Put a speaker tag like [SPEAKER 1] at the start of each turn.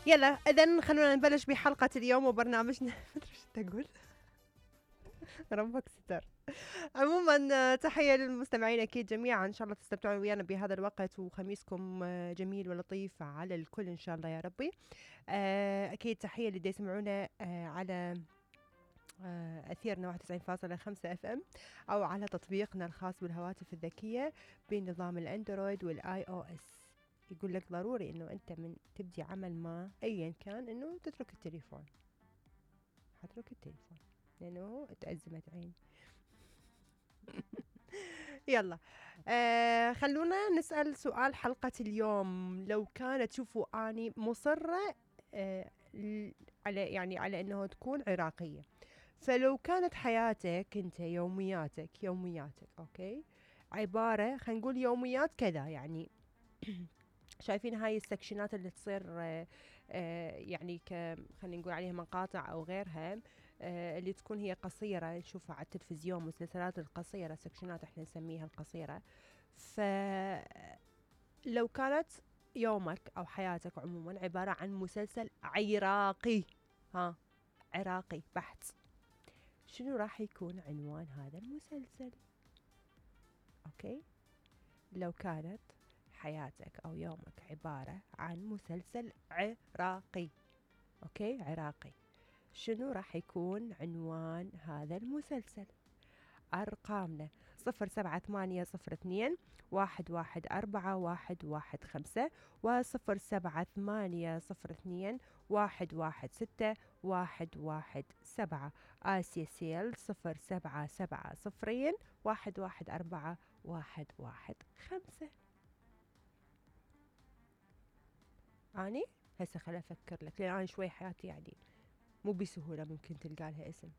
[SPEAKER 1] يلا اذا خلونا نبلش بحلقة اليوم وبرنامجنا. مدري ايش تقول. ربك ستر. عموما تحية للمستمعين اكيد جميعا، ان شاء الله تستمتعون ويانا بهذا الوقت وخميسكم جميل ولطيف على الكل ان شاء الله يا ربي. اكيد تحية اللي يسمعونا على أثيرنا 91.5 اف ام او على تطبيقنا الخاص بالهواتف الذكية بنظام الاندرويد والاي او اس. يقول لك ضروري انه انت من تبدي عمل ما ايا كان انه تترك التليفون. حترك التليفون لانه تأزمت عيني. يلا خلونا نسأل سؤال حلقة اليوم. لو كانت تشوفوا اني مصرة على انه تكون عراقية، فلو كانت حياتك انت يومياتك اوكي عبارة خلينا نقول يوميات كذا يعني. شايفين هاي السكشنات اللي تصير يعني خلينا نقول عليها مقاطع او غيرها، اللي تكون هي قصيرة نشوفها على التلفزيون، مسلسلات القصيرة سكشنات احنا نسميها القصيرة. فلو كانت يومك او حياتك عموما عبارة عن مسلسل عراقي، عراقي بحت، شنو راح يكون عنوان هذا المسلسل؟ اوكي، لو كانت حياتك او يومك عبارة عن مسلسل عراقي، اوكي عراقي، شنو راح يكون عنوان هذا المسلسل؟ ارقامنا 078021141115 و078021161117. آسيا سيل 0770211415. اني هسه خل افكر لك، لان انا شوي حياتي يعني مو بسهولة ممكن تلقى لها اسم.